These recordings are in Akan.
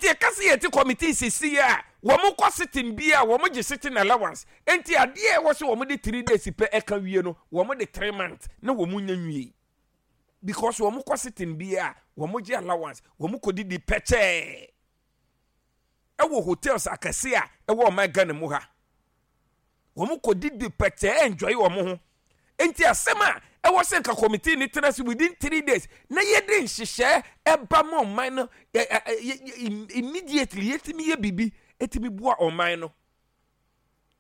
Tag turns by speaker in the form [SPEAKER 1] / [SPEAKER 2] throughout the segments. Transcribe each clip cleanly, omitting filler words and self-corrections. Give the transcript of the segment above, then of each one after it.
[SPEAKER 1] Nti ɛka sɛ yɛte committee sisi a wɔn kɔ sitting bi a wɔn gye sitting allowance. Nti adeɛ a ɛwɔ sɛ wɔn de 3 days pɛ ɛka wie no, wɔn de 3 months na wɔn nya nwie. Because wɔn kɔ sitting bi a wɔn gye allowance, wɔn kɔ didi pɛkyɛɛ. Ɛwɔ hotels akɛse a ɛwɔ ɔman Ghana mu ha. Wɔn kɔ didi pɛkyɛɛ, enjoy wɔn ho. Nti asɛm a ɛwɔ sɛ nka committee ne tena se within 3 days na yɛde nhyehyɛ ɛba ma ɔman no ɛ ɛ ɛ immediately, yɛtumi yɛ biribi ɛtumi boa ɔman no.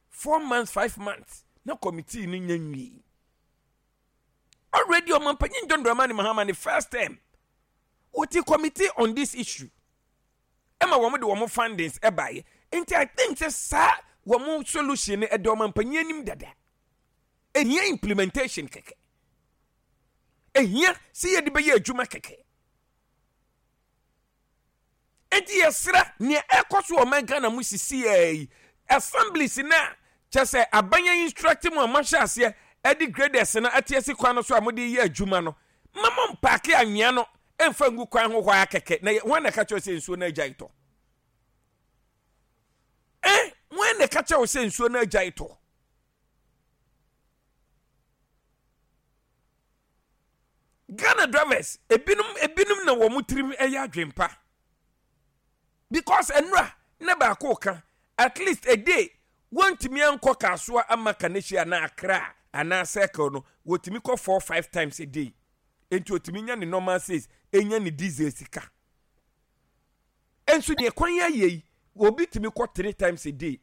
[SPEAKER 1] 4 months, 5 months na committee no nya nwie. Already ɔmanpanyin John Dramani Mahama ne first term, wɔte committee on this issue ɛma wɔn de wɔn findings ɛbaeɛ. Nti I think sɛ saa wɔn solution no ɛda ɔmanpanyin anim dada. Ehia implementation kɛkɛ, ehia sɛ yɛde bɛyɛ adwuma kɛkɛ. Nti yɛsrɛ, nea ɛkɔ so wɔ ɔman Ghana mu sisi yɛ yi, assemblies na kyɛ sɛ aban yɛn instruct mu a moahyɛ aseɛ ɛde graders no ate asi kwan no so a mode yɛ adwuma no, ma mo mpack anwea no ɛmfa ngu kwan ho hɔ a kɛkɛ. Na wɔn na ɛka kyerɛ sɛ nsuo no agya tɔ ɛ, wɔn na ɛka kyerɛ sɛ nsuo no agya tɔ. Ghana drivers ebinom na wɔn tirim yɛ adwempa, because nnura ne baako ka at least a day wɔntumi ankɔ Kasoa ama Kaneshie anaa Accra anaa Circle no, wɔtumi kɔ four, five times a day. Nti otumi nya ne normal sales, enya ne diesel sika. Nso deɛ kwan ayɛ yi, obi tumi kɔ three times a day,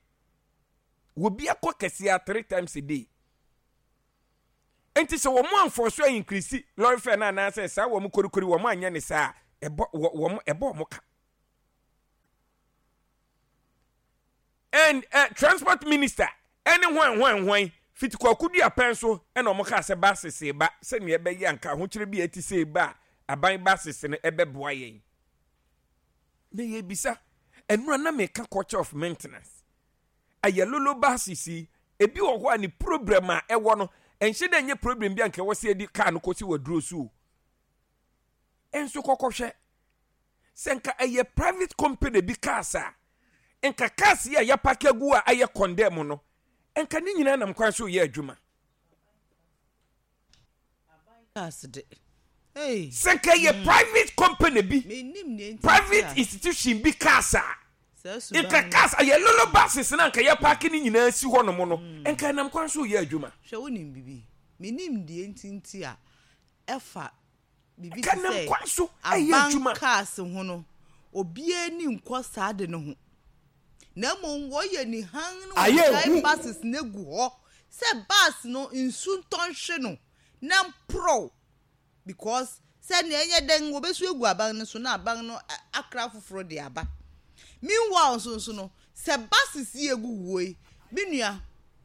[SPEAKER 1] obi akɔ kɛseɛ three times a day. Nti sɛ wɔn amfɔ so increase lorry fare no anaasɛ saa wɔn korikori wɔn anyɛ ne saa, ɛbɔ wɔn, ɛbɔ wɔn ka. And transport minister ɛne hwan hwan hwan fiti Kwaku Dua pɛn so ɛna wɔn kaa sɛ buses ba sɛnea ɛbɛyɛ anka ahokyere bi a ɛte sɛ ba a aban buses no ɛbɛboa yɛn. Na yɛbisa ɛnura na meka culture of maintenance. Ayalolo buses yi ebi wɔ hɔ a ne problem a ɛwɔ no ɛnhyɛ dɛ nyɛ problem bi a nka ɛwɔ sɛ yɛde car no kɔsi wɔ duro so o. Nso kɔkɔhwɛ sɛ nka ɛyɛ private company bi cars a, nka cars yi a yɛapark agu a ayɛ condemn no, nka ne nyinaa nam kwan so yɛ adwuma.
[SPEAKER 2] Cars de. Hey.
[SPEAKER 1] Sɛ nka ɛyɛ private company bi,
[SPEAKER 2] Menim nea nti
[SPEAKER 1] private
[SPEAKER 2] a
[SPEAKER 1] institution bi cars a,
[SPEAKER 2] saa suban
[SPEAKER 1] nka
[SPEAKER 2] no.
[SPEAKER 1] cars ayɛ lolo buses na nka yɛapark ne nyinaa si hɔ nom no, nka ɛnam kwan so yɛ adwuma.
[SPEAKER 2] Hwɛ, wonim bibi. Menim deɛ nti nti a ɛfa biribi
[SPEAKER 1] Nka
[SPEAKER 2] te
[SPEAKER 1] nam
[SPEAKER 2] sɛ
[SPEAKER 1] kwan so ɛyɛ
[SPEAKER 2] aban
[SPEAKER 1] adwuma.
[SPEAKER 2] cars ho no, obiara ni nkɔ saa de no ho. Na mmom wɔyɛ nihan no
[SPEAKER 3] Ayɛ
[SPEAKER 2] wɔgyae
[SPEAKER 3] hu.
[SPEAKER 2] buses no agu hɔ sɛ bus no nsu ntɔ nhwe no na mporɔw, because sɛ nea ɛnyɛ dɛn wɔbɛsu agu aban no so na aban no akra foforɔ de aba. Meanwhile nso no, sɛ buses yi egu wuo yi, me nua,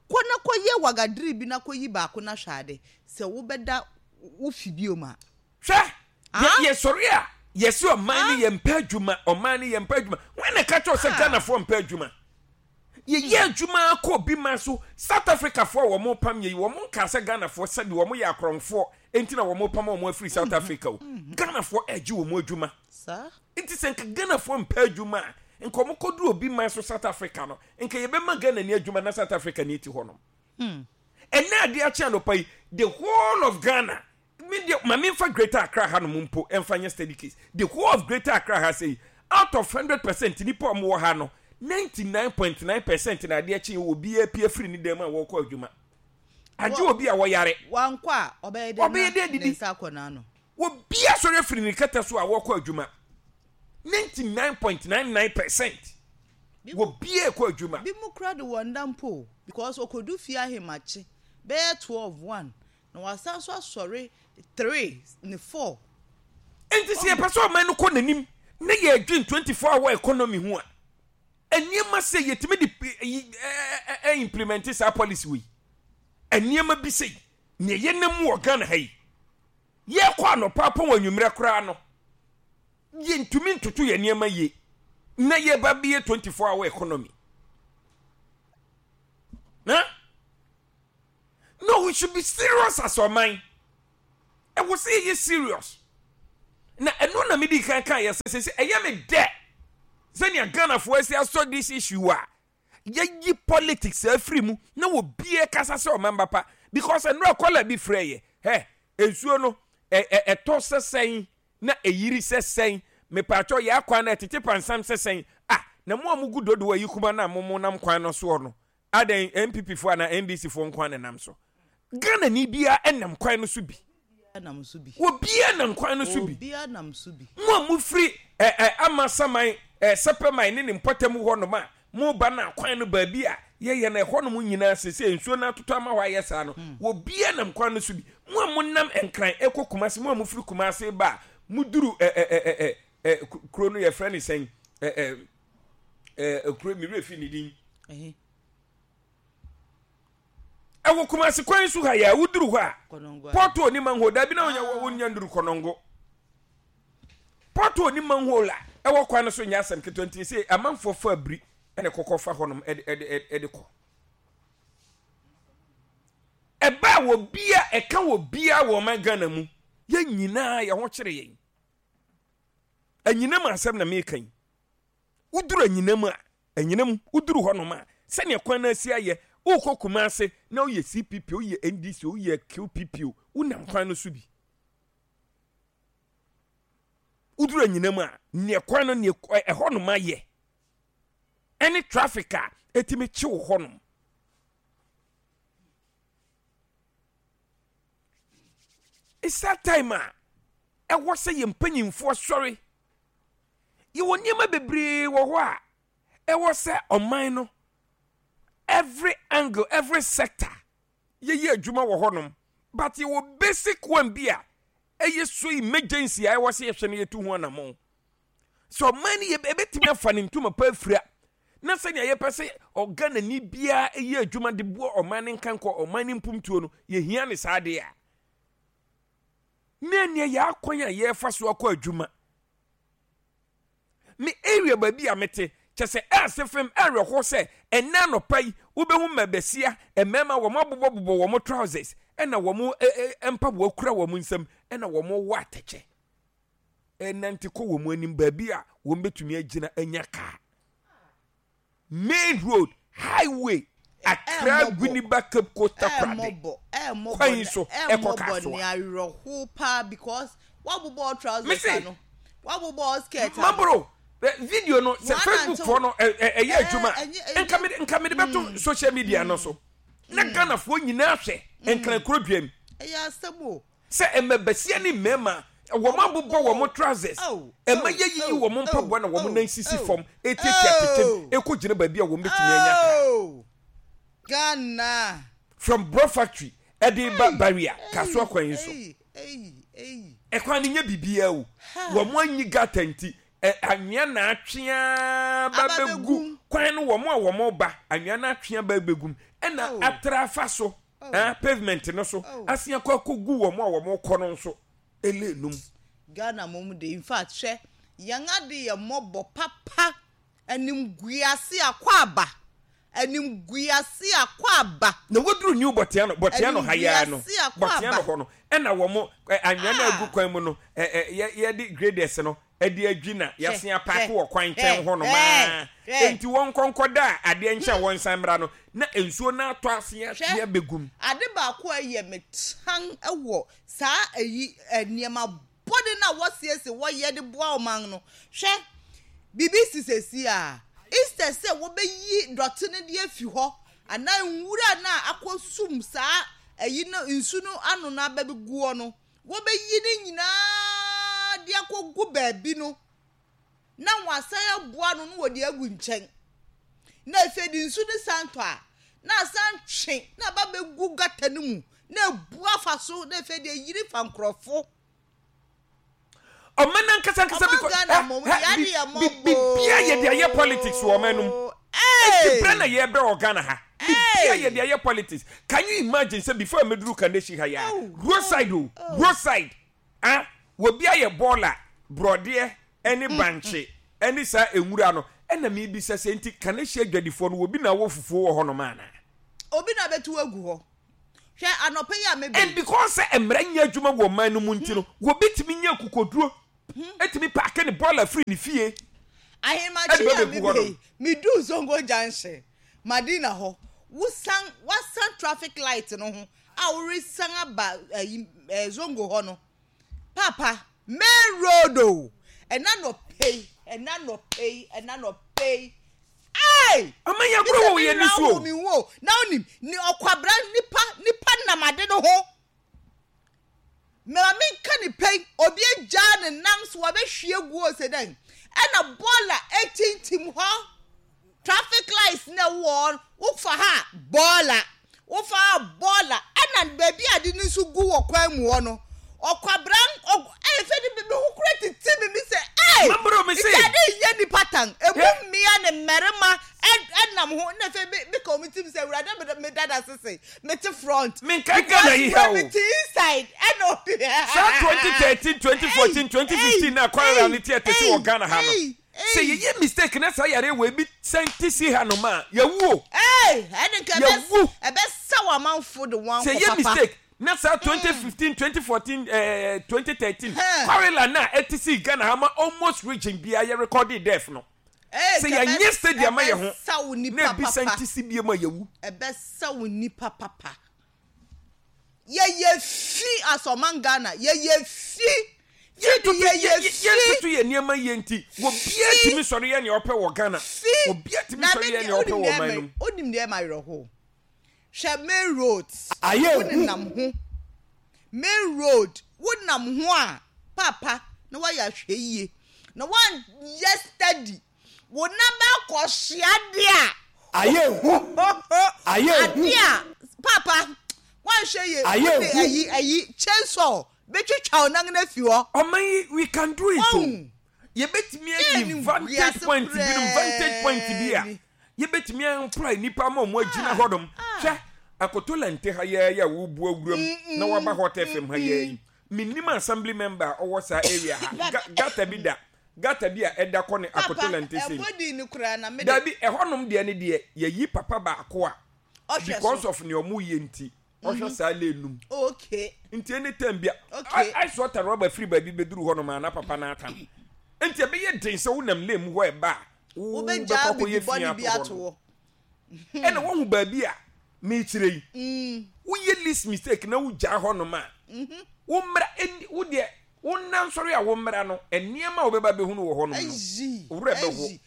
[SPEAKER 2] kɔ na kɔyɛ wagadiri bi na kɔyi baako na hwɛ ade sɛ wobɛda wo fi biom a.
[SPEAKER 1] Hwɛ,
[SPEAKER 2] Ah?
[SPEAKER 1] yɛsɔre a yɛsi ɔman no yɛmpɛ adwuma, ɔman no yɛmpɛ adwuma. Wɔn na ɛka kyerɛw sɛ
[SPEAKER 2] Ah.
[SPEAKER 1] Ghanafoɔ mpɛ adwuma? Yɛyɛ adwuma akɔ obi ma so. South Africafoɔ a wɔn pam yɛ yi, wɔn nka sɛ Ghanafoɔ sɛbi wɔn yɛ akorɔmfoɔ nti na wɔn pam wɔn afiri South Africa o. Ghanafoɔ ɛgye wɔn adwuma.
[SPEAKER 2] Saa.
[SPEAKER 1] Nti sɛ nka Ghanafoɔ mpɛ adwuma a, nka wɔn kɔduru obi man so South Africa no, nka yɛbɛma Ghana ni adwuma na South Africa ni ti hɔ nom. Ɛnɛ adeɛ akye anɔpa yi, the whole of Ghana, me deɛ ma memfa Greater Accra ha nom mpo ɛmfa nyɛ study case. The whole of Greater Accra ha sɛ, out of 100% nipa a wɔwɔ ha no, 99.9% na adeɛ kye wɔ obiara pie firi ne dan mu a wɔrekɔ adwuma, agye obi a wɔyare.
[SPEAKER 2] Wankɔ a, ɔbɛyɛ dɛ
[SPEAKER 1] Ɔbɛyɛ
[SPEAKER 2] na
[SPEAKER 1] dɛ
[SPEAKER 2] ne
[SPEAKER 1] didi.
[SPEAKER 2] nsa akɔ n'ano.
[SPEAKER 1] Obiara sɔre afiri ne kɛtɛ so a wɔrekɔ adwuma, 99.99% obiara kɔ adwuma.
[SPEAKER 2] Bi mu kora de wɔn da mpo o, because okodu fie ahemakye bɛyɛ 12, 1 na wasan so asɔre 3 ne 4.
[SPEAKER 1] Nti sɛ yɛpɛ sɛ ɔman no kɔ n'anim na yɛdwen 24 hour economy ho a, nneɛma sɛ yɛtumi de ɛ implement saa policy wei, nneɛma bi sɛ nea yɛnam mu wɔ Ghana ha yi, yɛkɔ anɔpa apɔn wɔ anwummerɛ koraa no, yɛntumi ntoto yɛn nneɛma yie na yɛba bɛyɛ 24 hour economy na no, we should be serious as ɔman. Ɛwɔ sɛ yɛyɛ serious na ɛno na medi kan kan yɛ sɛ ɛyɛ me dɛ. Sɛnea Ghanafoɔ asi asɔ this issue a yɛyi politics afiri mu na obiara kasa sɛ ɔman pa because nnora kɔla bi frɛ yɛ hɛ nsuo no ɛtɔ sɛ sɛn na ɛyiri sɛ sɛn mepatwɔ yɛ akwan no ɛtete pansam sɛ sɛn ah na mo a mo gu dodo ayi kuma na mo mo nam kwan no soɔ no adɛn NPP foɔ anaa NDC foɔ nko na nam so Ghana ni biara ɛnam kwan no so bi obiara nam kwan no so bi mo a mofiri ɛ ɛ Amasaman ɛ Sɛpɛman ne ne mpɔtam hɔ nom a moba no akwan no baabi a yɛyɛ no ɛhɔ nom nyinaa sese nsuo no atotɔ ama hɔ ayɛ saa no hmm. obiara nam kwan no so bi mo a monam Nkran ɛkɔ Kumase mo a mofiri Kumase ba a moduru ɛ ɛ ɛ ɛ ɛ kuro no yɛfrɛ ne sɛn ɛ ɛ ɛ kuro mi werɛ fi ne din ɛwɔ Kumasi kwan so ha yɛ a woduru hɔ a pɔtɔ ni manhole dabi na wonya ah. wonya nduru kɔnɔngo pɔtɔ ni manhole a ɛwɔ kwan no so nyɛ asɛm ketewa nti sɛ amanfoɔ fa abiri ɛna kɔkɔ fa hɔnom ɛde ɛde ɛde kɔ ɛbaa wɔ bia ɛka wɔ bia wɔ ɔman Ghana mu yɛn nyinaa yɛn ho kyerɛ yɛn anyinam asɛm na meka yi woduru anyinam a Anyinam, woduru hɔnom a, sɛnea kwan no asi ayɛ, worekɔ Kumase na woyɛ CPP, woyɛ NDC, woyɛ QPP o, wonam kwan no so bi. Woduru anyinam a, nea kwan no, nea ɛhɔnom ayɛ, ɛne traffic a ɛtumi kyew hɔnom. It's that time a ɛwɔ sɛ yɛn mpanyinfoɔ sɔre Yɛwɔ nneɛma bebree wɔ hɔ a ɛwɔ sɛ ɔman no every angle, every sector yɛyɛ adwuma wɔ hɔnom. But yɛwɔ basic one bi a ɛyɛ so emergency a ɛwɔ sɛ yɛhwɛ no yɛtu ho anammɔn. Sɛ ɔman no yɛbɛtumi afa ne ntoma pa afira na sɛnea yɛpɛ sɛ ɔghanani biara yɛ adwuma de boa ɔman no nkankɔ ɔman no mpomtuo no yɛhia ne saa adeɛ a na ɛneɛ yɛ akwan a yɛrefa so akɔ adwuma me area baabi a mete kyɛ sɛ ɛase fam ɛwerɛhoɔ sɛ ɛnɛ anɔpa yi wobɛhu mmabasia mmarima wɔn abobɔbobɔ wɔn trousers ɛna wɔn mpaboa kura wɔn nsam ɛna wɔn wɔ atɛkyɛ ɛnante kɔ wɔn anim baabi a wɔn bɛtumi agyina anya kaa Main road, highway, Accra, Winneba, Cape Coast, Takoradi kwan yi so ɛkɔ Kasoa. Mese, Maboro, video no sɛ Facebook foɔ no ɛyɛ adwuma nka mede nka mede bɛto social media no so na Ghanafoɔ nyinaa hwɛ Nkran kuro dua mu.
[SPEAKER 2] Ɛyɛ asɛm o.
[SPEAKER 1] Sɛ mmabasia ne mmarima, wɔn abobɔ wɔn trousers, ɛma yɛyiyi wɔn mpaboa na wɔn nan sisi fam etiatia atɛkyɛm ɛkɔ gyina baabi a wɔn bɛtumi anya kaa.
[SPEAKER 2] Ghana.
[SPEAKER 1] From Bro Factory ɛde ba Barrier Kasoa kwan yi so. Ɛkwan no nyɛ biribiara o. Wɔn anyi gutter nti anwea na atwe ara ba bɛgu kwan no wɔn a wɔn ba anwea no atwe aba bɛgu mu ɛna atra afa so. Eh, pavement no so oh. asen akɔ akɔgu wɔn a wɔn kɔ no nso ele num.
[SPEAKER 2] Ghana mom de in fact hwɛ yɛn ade yɛ mmɔbɔ papa animguase akɔ aba animguase akɔ aba.
[SPEAKER 1] Na woduru new bɔtea no bɔtea no ha yaa no bɔtea no hɔ no ɛna wɔn anwea no agu kwan mu no ɛ ɛ yɛde graders no de adwi na yɛasen apaake wɔ kwan nkyɛn hɔ nom ara. Enti wɔnkɔ nkɔda a adeɛ nkyɛ a wɔnsan mmra no, na nsuo no atɔ ase ahwe abɛgu mu.
[SPEAKER 2] Ade baako a ɛyɛ me tan wɔ saa ayi nneɛma bɔne no a wɔsiesie wɔyɛ de boa ɔman no, hwɛ, biribi si seesei a, instead sɛ wɔbɛyi dɔte no de afi hɔ anaa nwura no a akɔsum saa ayi no nsu no ano no abɛgu hɔ no, Wobeyi ne nyinaa de akogu baabi no, na wɔasan aboa ano na wɔde agu nkyɛn. Na afei de nsu no san tɔ a, na asan twe na aba bɛgu gata no mu na ebu afa so na afei de eyiri fa nkurɔfo.
[SPEAKER 1] Ɔman ankasa ankasa bi kɔ bibia yɛ de ayɛ politics wɔ ɔman no mu. Eti brɛ na yɛbrɛ wɔ Ghana ha. Bibia yɛ de ayɛ politics. Can you imagine sɛ before mɛduru Kaneshie ha yi a, roadside o, roadside ah, obi ayɛ bɔɔla, borɔdeɛ ɛne bankye ɛne saa nwura no, ɛna mebisa sɛ nti Kaneshie adwadifoɔ no obi na awɔ fufuo wɔ hɔnom anaa?
[SPEAKER 2] Obi na abɛtu agu hɔ. Hwɛ anɔpa yi a meba yi.
[SPEAKER 1] And because sɛ mmara nyɛ adwuma wɔ ɔman no mu nti no, obi tumi nya akokoduro tumi paake ne bɔɔla firi ne fie.
[SPEAKER 2] Ahemakye
[SPEAKER 1] Ɛde
[SPEAKER 2] a
[SPEAKER 1] bɛbɛgu hɔ
[SPEAKER 2] mebɛ
[SPEAKER 1] nom.
[SPEAKER 2] yi, meduu Zongo Junction, Madina hɔ, wosan, woasan traffic light no ho a woresan aba ayi, eh, Zongo hɔ no, Paapa, main road o, ɛna nɔpɛ yi, ɛna nɔpɛ yi, ɛna nɔpɛ yi, ai!
[SPEAKER 1] Ama yɛn agorɔ wɔ yɛn ani so o.
[SPEAKER 2] Mi wo, na onim, ni ɔkwabra nipa, nipa nam ade no ho. Mema menka ne pɛn, obi agyaa ne nan so wabɛhwie gu o sɛ dɛn, ɛna bɔɔla etintim hɔ. Traffic lights na ɛwɔ hɔ no, wofa ha a, bɔɔla, wofa ha a, bɔɔla, ɛna baabi a ade no nso gu wɔ kwan mu hɔ no, ɔkwabran, ɔg ɛyɛ fɛ de me ho kura tete me mi sɛ, ee,
[SPEAKER 1] Mabro me se.
[SPEAKER 2] nti ade nyɛ nipa tan, emu
[SPEAKER 1] Hwɛ.
[SPEAKER 2] mmea ne mmarima ɛnam ho, na afei me meka wɔn tirim sɛ, awurade me me dada sese, mete front,
[SPEAKER 1] Menkae Ghana yi ha o.
[SPEAKER 2] mete inside, ɛna obi.
[SPEAKER 1] Saa 2013, 2014, 2015 na cholera no te ɛte se wɔ Ghana ha no. Sɛ yɛyɛ mistake na saa yareɛ wei bi san te si hanom a, yɛawu o. Yɛawu. Sɛ yɛyɛ mistake na saa 2015, 2014, eh, 2013 cholera no a ɛte sii Ghana ha ma almost region biara yɛ recorded death no. Sɛ yɛnyɛ study ama yɛ ho na ebi san te si biom a, yɛawu.
[SPEAKER 2] Ɛbɛsa wo nipa papa. Yɛyɛ fi as ɔman Ghana yɛyɛ fi fi de yɛyɛ fi.
[SPEAKER 1] Yɛntoto yɛn nneɛma yie nti obiara tumi sɔre yɛ nea ɔpɛ wɔ Ghana. Obiara tumi sɔre yɛ nea ɔpɛ wɔ ɔman no mu.
[SPEAKER 2] Wonim deɛ ɛma awerɛhoɔ? Hwɛ main road
[SPEAKER 3] Ayɛ
[SPEAKER 2] wo
[SPEAKER 3] hu.
[SPEAKER 2] nenam ho main road wo nam ho a paapa na woayɛ ahwɛyie na woanyɛ steady Wo nan bɛakɔhye adeɛ a.
[SPEAKER 3] Ayɛ hu. Ayɛ hu.
[SPEAKER 2] Adeɛ a paapa woanhwɛ yie
[SPEAKER 3] Ayɛ
[SPEAKER 2] wode
[SPEAKER 3] hu.
[SPEAKER 2] ayi ayi chainsaw bɛtwitwa wo nan no afi hɔ.
[SPEAKER 1] Ɔman yi we can do it o.
[SPEAKER 2] Wahu?
[SPEAKER 1] Yɛbɛtumi
[SPEAKER 2] Yɛn
[SPEAKER 1] ayi
[SPEAKER 2] ne
[SPEAKER 1] vantage
[SPEAKER 2] wiase
[SPEAKER 1] point binom vantage point bi a
[SPEAKER 2] koraa ni.
[SPEAKER 1] yɛbɛtumi ampra nnipa ama wɔn agyina
[SPEAKER 2] Ah,
[SPEAKER 1] hɔnom.
[SPEAKER 2] ah.
[SPEAKER 1] Hwɛ Akotolante ha yɛɛ yɛ a wobu awuram na waba Hot FM ha yɛɛ yi. Mennim assembly member a ɔwɔ saa area ha. Ga gutter bi da Gutter bi a ɛda kɔ ne
[SPEAKER 2] Papa,
[SPEAKER 1] Akotolante sei.
[SPEAKER 2] ɛbɔ din no koraa na me de.
[SPEAKER 1] Dabi, ɛhɔnom deɛ ne deɛ, yɛyi papa baako a,
[SPEAKER 2] Ɔhwɛ
[SPEAKER 1] because
[SPEAKER 2] so.
[SPEAKER 1] of nea ɔmo yɛ nti, ɔhwɛ saa lane no mu.
[SPEAKER 2] Okay.
[SPEAKER 1] Nti any time bia,
[SPEAKER 2] Okay.
[SPEAKER 1] ice water rɔba firi baabi bɛduru hɔnom a na papa no atam. Nti ɛbɛyɛ den sɛ wonam lane mu hɔ ɛba a, wobɛkɔ
[SPEAKER 2] Wobɛgyaa
[SPEAKER 1] akɔyɛ
[SPEAKER 2] bibi
[SPEAKER 1] fi
[SPEAKER 2] bɔne
[SPEAKER 1] ato
[SPEAKER 2] bi
[SPEAKER 1] hɔ
[SPEAKER 2] ato
[SPEAKER 1] no.
[SPEAKER 2] hɔ.
[SPEAKER 1] Ɛna woahu baabi a mekyerɛ yi. Woyɛ least mistake na wogyaa hɔnom a, wo mmra, ɛnni, wo deɛ, wo nna nsɔre a wo mmra no, nneɛma a wobɛba abɛhunu wɔ hɔnom no, wo werɛ bɛho.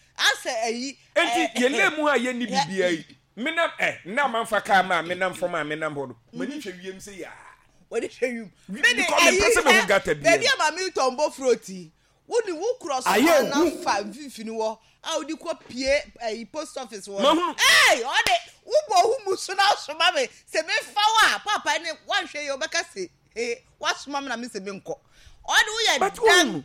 [SPEAKER 1] Enti yɛn lane mu ha a yɛnni biribiara yi, menam, ɛ, nna a mamfa kaa ma a menam fam a menam hɔ no, m'ani hwɛ wiem sɛ yaa.
[SPEAKER 2] W'ani hwɛ wiem.
[SPEAKER 1] Because mempɛ sɛ mehu gutter biara.
[SPEAKER 2] Baabi a maame tɔn bofrot yi, Wo de wo korɔ so
[SPEAKER 3] Ayɛ
[SPEAKER 2] kwan na
[SPEAKER 3] hu.
[SPEAKER 2] fa mfimfini hɔ a wode kɔ pie ɛyi post office hɔ no.
[SPEAKER 1] Mahunu.
[SPEAKER 2] Ee ɔde wobɔ wo mu so na asoma me sɛ mefa wo a paapa ne woanhwɛ yie wobɛka se ee wasoma me na me se menkɔ. Ɔde woyɛ
[SPEAKER 1] But
[SPEAKER 2] dan
[SPEAKER 1] wohunu.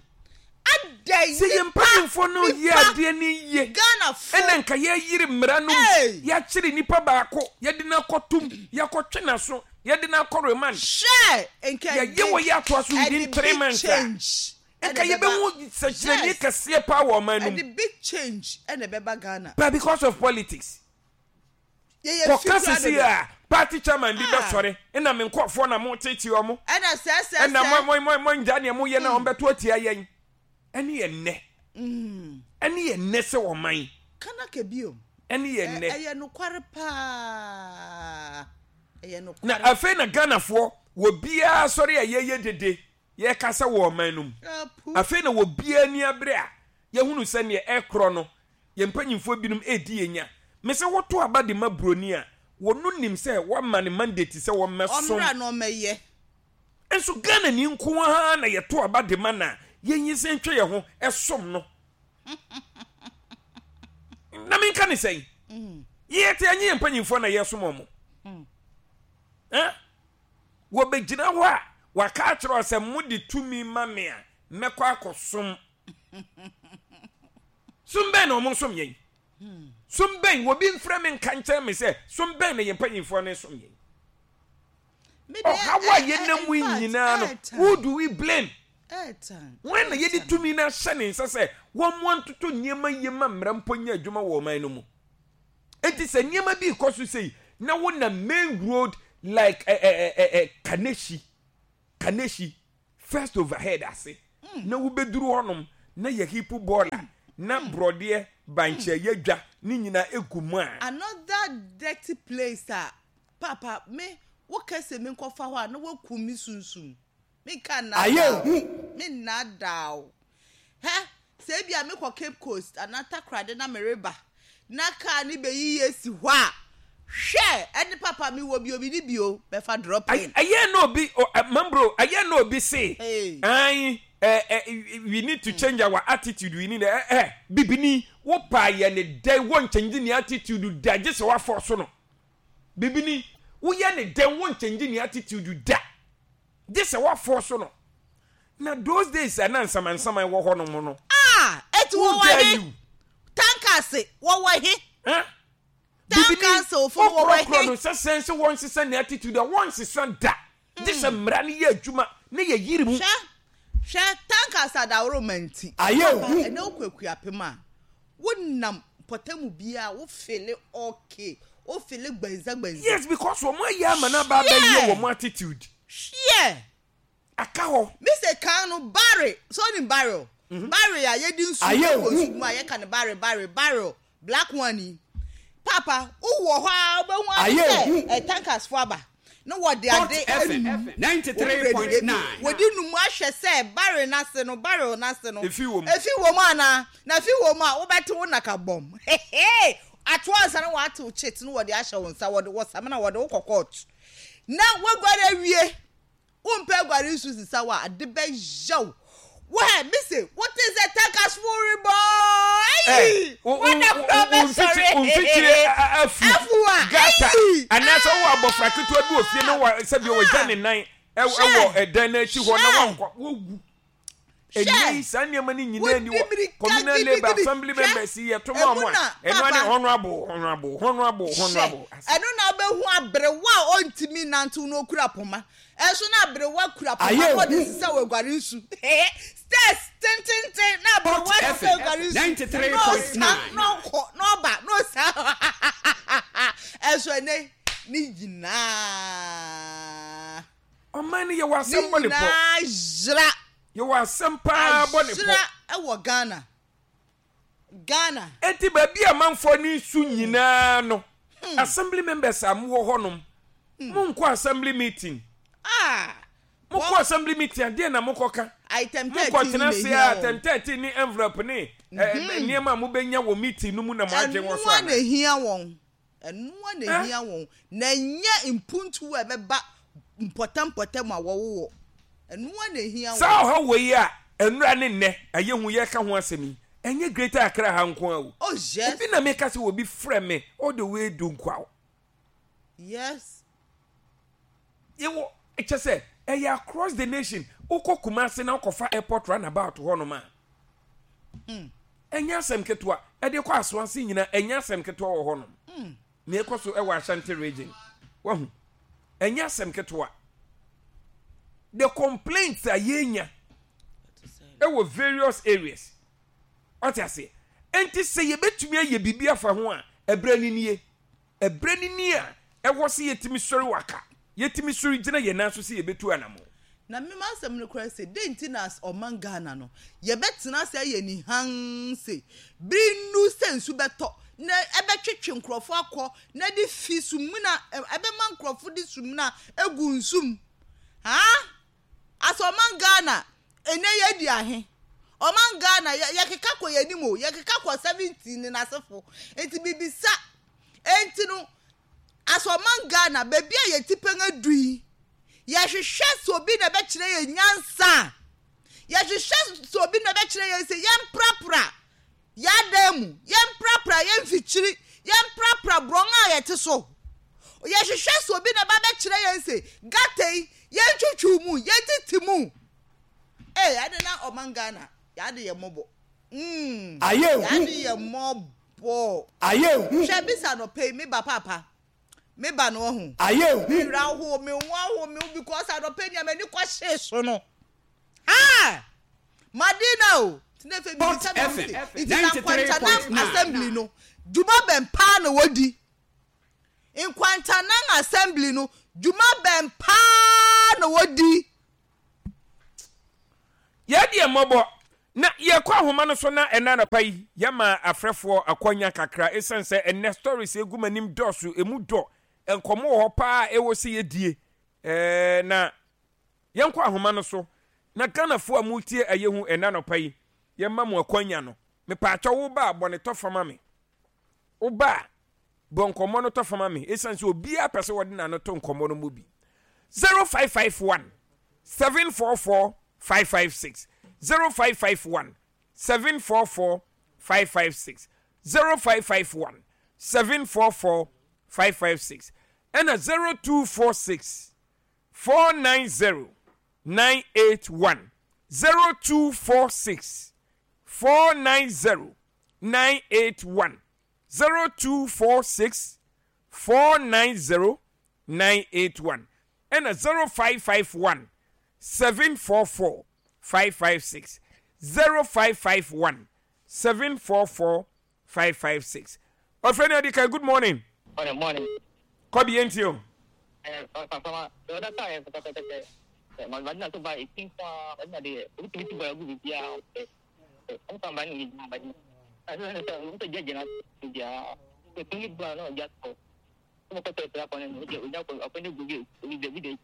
[SPEAKER 2] adɛn
[SPEAKER 1] Sɛ yɛn
[SPEAKER 2] nipa
[SPEAKER 1] mpanyinfoɔ no yɛ
[SPEAKER 2] nipa
[SPEAKER 1] adeɛ no yie
[SPEAKER 2] Ghanafo
[SPEAKER 1] ɛna nka yɛyere mmara no mu,
[SPEAKER 2] Ee.
[SPEAKER 1] yɛakyere nipa baako, yɛde no akɔtom, yɛakɔtwe n'aso, yɛde no akɔ remand.
[SPEAKER 2] Hwɛ nka
[SPEAKER 1] Yɛyɛ
[SPEAKER 2] ɛde
[SPEAKER 1] wɔ yɛ atoa so within
[SPEAKER 2] ɛde
[SPEAKER 1] three
[SPEAKER 2] big
[SPEAKER 1] months a.
[SPEAKER 2] change ɛna
[SPEAKER 1] Nka
[SPEAKER 2] ɛbɛba
[SPEAKER 1] yɛbɛhu sɛkyerɛnne
[SPEAKER 2] yes
[SPEAKER 1] kɛseɛ paa wɔ ɔman no mu.
[SPEAKER 2] ɛde big change ɛna ɛbɛba Ghana.
[SPEAKER 1] But because of politics.
[SPEAKER 2] Yɛyɛ fi
[SPEAKER 1] Kɔka
[SPEAKER 2] kura
[SPEAKER 1] sisi
[SPEAKER 2] dodo.
[SPEAKER 1] a party chairman bi
[SPEAKER 2] Ah.
[SPEAKER 1] bɛsɔre ɛna me nkurɔfoɔ na mo tete ɔmo.
[SPEAKER 2] Ɛna sɛ sɛ
[SPEAKER 1] Ɛna
[SPEAKER 2] sɛ.
[SPEAKER 1] mo mo mo mo ngya nea moyɛ na wɔn bɛto atia yɛn. Ɛne yɛ nnɛ. Ɛne yɛ nnɛ sɛ ɔman.
[SPEAKER 2] Kana ka bio.
[SPEAKER 1] Ɛne yɛ nnɛ.
[SPEAKER 2] Ɛyɛ nokware paa. Ɛyɛ nokware.
[SPEAKER 1] Na afei na Ghanafoɔ wɔ biara sɔre a yɛyɛ dede. Yɛrekasa wɔ ɔman no mu. Afei na obiara ani abere a yɛahunu sɛ nea ɛrekorɔ no, yɛn mpanyimfoɔ binom redi yɛn nya. Mese woto aba de ma buroni a, wɔno nim sɛ woama no mandate sɛ wɔmmɛsom.
[SPEAKER 2] Ɔmmra na ɔmmɛyɛ.
[SPEAKER 1] Nso Ghanani nko ara na yɛto aba de ma no a, yɛnyinsɛn twe yɛn ho som no. Na menka ne sɛn? Yɛte ɛnyɛ yɛn mpanyimfoɔ na yɛresom wɔn. Eh? Wɔbɛgyina hɔ a, wɔaka akyerɛ wo sɛ, Mode tumi ma me a, mɛkɔ akɔsom. Som bɛn na wɔsom yɛn? Som bɛn? Obi mfrɛ me nka nkyerɛ me sɛ, som bɛn na yɛn mpanyimfoɔ no som yɛn? Ɔhaw a yɛnam mu yi nyinaa no, who do we blame? Wɔn na yɛde tumi no ahyɛ ne nsa sɛ wɔmmoa ntoto nneɛma yie ma mmara mpo nyɛ adwuma wɔ ɔman no mu. Enti sɛ nneɛma bi rekɔ so sei na wonam main road like eh, eh, eh, eh, Kaneshie, Kaneshie, first overhead ase na wobɛduru hɔnom na yɛ heap bɔɔla. na borɔdeɛ, bankye a yɛadwa ne nyinaa gu mu a.
[SPEAKER 2] Another dirty place a paapa me wo ka se me nkɔ fa hɔ a na wakum me sunsum. Me nka
[SPEAKER 3] Ayɛ
[SPEAKER 2] nnaadaa
[SPEAKER 3] hu.
[SPEAKER 2] wo. Me nnaadaa wo. Hɛ, sɛ ebia me kɔ Cape Coast anaa Takoradi na me reba na car no bɛyiyi asi hɔ a, hwɛ, ɛne papa me wɔ bi o, me ni bi o, bɛfa dropping.
[SPEAKER 1] Ɛyɛ na obi, o, ɛ, Mambro, ɛyɛ na obi se,
[SPEAKER 2] Hey.
[SPEAKER 1] ae, ɛ, ɛ, we need to change our attitude, we need, ɛ, ɛ, bibini, wo paa yɛ ne dɛn, wo nkyɛngye ne attitude da, gye sɛ woafɔɔso no. Bibini, woyɛ ne dɛn, wo nkyɛngye ne attitude da. Gye sɛ woafɔɔso no. Na those days a na nsamansaman wɔ hɔ nom no.
[SPEAKER 2] Ah! Eti
[SPEAKER 1] Who
[SPEAKER 2] wɔwɔ
[SPEAKER 1] dare
[SPEAKER 2] he?
[SPEAKER 1] you?
[SPEAKER 2] Tankase, wɔwɔ he?
[SPEAKER 1] Huh?
[SPEAKER 2] Town
[SPEAKER 1] Bibini,
[SPEAKER 2] council fo no wɔwɔ
[SPEAKER 1] wokorɔkorɔ
[SPEAKER 2] he?
[SPEAKER 1] no sɛ sɛn sɛ wɔnsesa ne attitude a, wɔnsesa da. Gye sɛ mmara no yɛ adwuma na yɛyere mu.
[SPEAKER 2] Hwɛ, hwɛ, tankase adaworoma nti.
[SPEAKER 3] Ayɛ
[SPEAKER 2] Papa,
[SPEAKER 3] hu.
[SPEAKER 2] ɛnɛ wokɔ Akuapem a, wonam mpɔtamu biara, wo fele okay, wo fele gbanza gbanza.
[SPEAKER 1] Yes, because wɔn ayɛ ama no aba abɛyɛ
[SPEAKER 2] Hweɛ!
[SPEAKER 1] wɔn attitude.
[SPEAKER 2] Hweɛ!
[SPEAKER 1] Aka hɔ.
[SPEAKER 2] Me se kan no barre, so wonim barrel? Barre a yɛde nsu
[SPEAKER 3] Ayɛ
[SPEAKER 2] kɔ
[SPEAKER 3] hu.
[SPEAKER 2] nsu mu a yɛka no barre barre barrel black one yi. Paapa wowɔ hɔ a wobɛhu ara ne
[SPEAKER 3] Ayɛ
[SPEAKER 2] sɛ
[SPEAKER 3] hu.
[SPEAKER 2] eh, tankers fo aba na wɔde
[SPEAKER 4] Hot
[SPEAKER 2] ade
[SPEAKER 4] FM
[SPEAKER 2] anum. Wɔn werɛ de
[SPEAKER 4] 93.9.
[SPEAKER 2] wɔde num ahwɛ sɛ barrel no ase no barrel no ase no
[SPEAKER 1] Efi wɔ mu.
[SPEAKER 2] efi wɔ mu anaa? Na efi wɔ mu a wobɛte wo naka bɔm. Hehe! Ato ansa na wɔatew chit no wɔde ahyɛ wo nsa wɔde wɔ samina wɔde wo kɔ court na woaguare awie. Wompɛ aguare nsu sesa wo a, ade bɛyɛ wo. Wo hɛ, mise, wote sɛ tankasfo rebɔ ayi, wɔda kora bɛsɔre.
[SPEAKER 1] Wo mfikyire afu,
[SPEAKER 2] afu a,
[SPEAKER 1] gata,
[SPEAKER 2] ayi.
[SPEAKER 1] Anaasɛ wowɔ abɔfra ketewa bi wɔ fie na wɔ sɛbi wɔgya ne nan ɛwɔ ɛdan no akyi hɔ na wankɔ, wowu. Ɛnnɛ yi saa nneɛma no nyinaa ni wɔ communal labour assembly members yi yɛto ma wɔn a ɛno ane honourable honourable honourable honourable.
[SPEAKER 2] Ɛno na wobɛhu aberewa a ɔntumi nantew na okura poma. Ɛnso na aberewa kura poma na ɔde sisa wɔ aguare nsu. Stairs tententen na aberewa sisa aguare nsu. Na ɔsa na ɔkɔ na ɔba na ɔsa. Ɛnso ɛnɛ ne nyinaa.
[SPEAKER 1] Ɔman no yɛwɔ asɛm bɔ ne pɔ.
[SPEAKER 2] Ne nyinaa yera.
[SPEAKER 1] Yɛwɔ asɛm paa bɔ ne pɔ.
[SPEAKER 2] Ayera wɔ Ghana. Ghana.
[SPEAKER 1] Enti baabi a amanfoɔ no resu nyinaa no, assembly members a mowɔ hɔnom, monkɔ assembly meeting.
[SPEAKER 2] Ah!
[SPEAKER 1] Mokɔ assembly meeting a, deɛ na mokɔka?
[SPEAKER 2] Item 13
[SPEAKER 1] Mokɔtena
[SPEAKER 2] na
[SPEAKER 1] ase
[SPEAKER 2] ehia
[SPEAKER 1] a,
[SPEAKER 2] wɔn.
[SPEAKER 1] item 13 ne envelope ne nneɛma a mobɛnya wɔ meeting no mu na mo adwene wɔ so
[SPEAKER 2] Ɛno ara na
[SPEAKER 1] anaa?
[SPEAKER 2] ehia wɔn. Ɛno ara na ehia wɔn, na ɛnyɛ mpuntuo a ɛbɛba mpɔtam mpɔtam a wɔwowɔ. Ɛno ara na ehia wɔn.
[SPEAKER 1] Saa ɔhaw wei a nnora ne nnɛ ayɛ hu yɛreka ho asɛm yi, ɛnyɛ Greater Accra ha nko ara o.
[SPEAKER 2] Oh yes.
[SPEAKER 1] Obi na meka sɛ obi frɛ me all the way Dunkwa.
[SPEAKER 2] Yes.
[SPEAKER 1] Yɛwɔ kyɛ sɛ ɛyɛ across the nation. Wokɔ Kumasi na wokɔfa airport runabout hɔnom a, hmm. Ɛnyɛ asɛm ketewa. Ɛde kɔ Asoase nyinaa, ɛnyɛ asɛm ketewa wɔ hɔnom. Hmm. Nea ɛkɔ so wɔ Ashanti region. Wahu? Ɛnyɛ asɛm ketewa. The complaints a yɛnya ɛwɔ various areas. Wate aseɛ? Enti sɛ yɛbɛtumi ayɛ biribi afa ho a, ɛberɛ no nie. Ɛberɛ no ni a ɛwɔ sɛ yɛtumi sɔre waka, yɛtumi sɔre gyina yɛn nan so sɛ yɛbɛtu anammɔn.
[SPEAKER 2] Na me m'asɛm no koraa se, dɛn nti na as ɔman Ghana no, yɛbɛtena ase ayɛ ni hann se, bere nnu sɛ nsu bɛtɔ na ɛbɛtwetwe nkurɔfo akɔ na ɛde fi sumina, ɛbɛma nkurɔfo de sumina agu nsu mu? Haa? As ɔman Ghana, ɛnɛ yɛadi ahe? Ɔman Ghana, yɛ, yɛkeka kɔ yɛn anim o, yɛkeka kɔ 70 ne n'asefo. Nti mibisa, enti no, as ɔman Ghana, baabi a yɛn tipɛn adu yi, yɛhwehwɛ sɛ obi na ɛbɛkyerɛ yɛn nyansa a, yɛhwehwɛ sɛ obi na ɛbɛkyerɛ yɛn sɛ yɛmprapra yɛn adan mu, yɛmprapra yɛn mfikyiri, yɛmprapra borɔn a yɛte so. Yɛhwehwɛ sɛ obi na ɛba bɛkyerɛ yɛn sɛ gata yi, yɛntwitwiw mu, yɛntete mu. Ee, ade na ɔman Ghana, yɛade yɛ mmɔbɔ. Mm,
[SPEAKER 3] Ayɛ hu.
[SPEAKER 2] yɛade yɛ mmɔbɔ.
[SPEAKER 3] Ayɛ hu.
[SPEAKER 2] Hwɛ bisa anɔpa yi, me ba paapa, me ba no ɔho.
[SPEAKER 3] Ayɛ hu.
[SPEAKER 2] Me werɛ ahow me ho ahow me ho because anɔpa yi nea m'ani kɔhyee so no. Ha! Madina o! Nti na afei
[SPEAKER 4] Hot
[SPEAKER 2] mebisa me ho
[SPEAKER 4] FM
[SPEAKER 2] se, nti na Nkwantanang
[SPEAKER 4] 93.9.
[SPEAKER 2] Assembly no, dwuma bɛn paa na wɔdi? Nkwantanang Assembly no, dwuma bɛn paa na wɔdi?
[SPEAKER 1] Yɛn deɛ mmɔbɔ. Na yɛkɔ ahoma no so na ɛna anɔpa yi yɛma afrɛfoɔ akwanya kakra ɛsiane sɛ ɛnɛ stories egu m'anim dɔɔso, emu dɔ, nkɔmmɔ wɔ hɔ paa ɛwɔ sɛ yɛdie. Ɛɛ na yɛnkɔ ahoma no so na Ghanafoɔ a motie Ɛyɛ Hu ɛnɛ anɔpa yi yɛma mo akwanya no. Mepaakyɛw wo ba a bɔ ne tɔfa ma me. Wo ba a bɔ nkɔmmɔ no tɔfa ma me ɛsiane sɛ obiara pɛ sɛ wɔde n'ano to nkɔmmɔ no mu bi. 0551 744 556 0551 744 556 0551 744 556 ɛna 0246 490 981 0246 490 981 0246 490 981 ɛna 0551 744 556 0551 744 556. Ɔfrɛ ni adi kan, good morning.
[SPEAKER 4] Morning, morning.
[SPEAKER 1] Kɔbi yɛn ti o.
[SPEAKER 4] Papa, the other time, madina so ba esi nko a madina de obi tumi ti bɔ agu bibi a ɔmo ba ne yɛ gyina madina ɛsɛ sɛ ɔmo sɛ gyina gyina bibi a ɛtumi bu a na ɔgya kɔ ɔmo kɔ tɛ tɛ akɔ ne no ɔgya ɔgya kɔ akɔ ne gu bi obi de bi de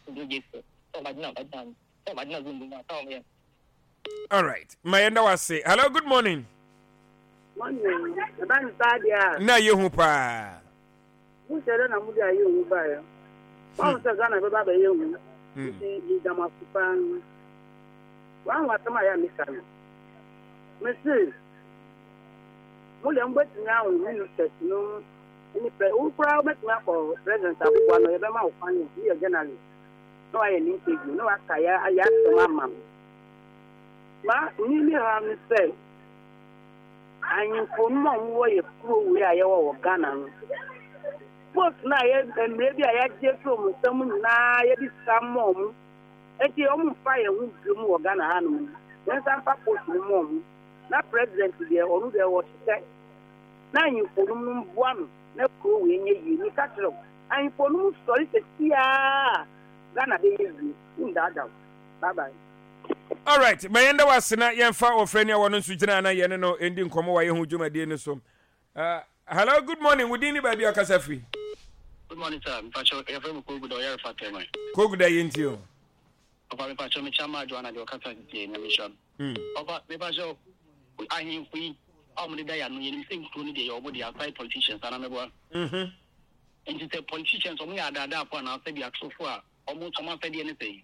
[SPEAKER 4] obi gye so ɔ madina madina ɔ madina zumbu na ɔmo yɛ.
[SPEAKER 1] All right, ma yɛn da wase. Hello, good morning.
[SPEAKER 5] Morning. Ɛba ne saa deɛ a.
[SPEAKER 1] Na yɛ hu paa.
[SPEAKER 5] Mo sɛ dɛ na mo de ayɛ hu baeɛ. Wɔn sɛ Ghana bɛba abɛyɛ hu. Nti meda mo ase paa. Wɔn asɛm a yɛ a meka no. Mese mo deɛ mobɛtumi ahu ministers no ne pɛ wo koraa wobɛtumi akɔ president aboboa no yɛbɛma wo kwan yɛ journalist na wayɛ ne interview na waka yɛ ayɛ asɛm ama no. Ma ni ne haw ne sɛ ahemfo no a wɔwɔ yɛ kuro wei a yɛwɔ wɔ Ghana no, post no a yɛ mmerɛ bi a yɛagye afiri wɔn nsam nyinaa yɛde sika ma wɔn, nti wɔn mfa yɛn ho biom wɔ Ghana hanom no, yɛnsa mfa post no ma wɔn. Na president deɛ ɔno deɛ ɔhyehyɛ na ahemfo no no mboa no na kuro wei nyɛ yie. Meka kyerɛ wo, ahemfo no sɔre sɛsiaa Ghana bɛyɛ yie. Wondaadaa wo. Bye bye.
[SPEAKER 1] Alright, ma yɛnda wo ase na yɛmfa ɔfrɛni a wɔno nso gyina na yɛne no ndi nkɔmmɔ wɔ ayɛho dwumadie no so. Hello, good morning. Wo din ne baabi a ɔkasa firi?
[SPEAKER 4] Good morning sir, mpakyɛ yɛfrɛ me Koguda ɔyɛrefa tɛman.
[SPEAKER 1] Koguda yɛ nti o.
[SPEAKER 4] Papa mepakyɛ mekyia maa Joanna deɛ ɔkasa tete Nyame nhyira no. Papa mepakyɛ ahemfo yi a wɔn deda yɛ ano yɛnim sɛ nkuro no deɛ yɛ wɔn deɛ aside politicians anaa mɛboa. Nti sɛ politicians wɔn yɛ adaadaafo anaa sɛ bi atorofo a wɔn nso wɔn asɛdeɛ ne sɛn?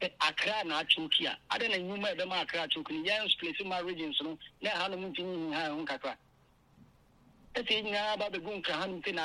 [SPEAKER 4] Sɛ Accra na achoke a, adɛn na nnwuma a ɛbɛma Accra achoke no, yɛn spliti ma regions no na ɛhanom ntumi nhinha ɛho kakra? Ɛsɛ yɛn nyinaa ba bɛgu Nkran hanom sei na.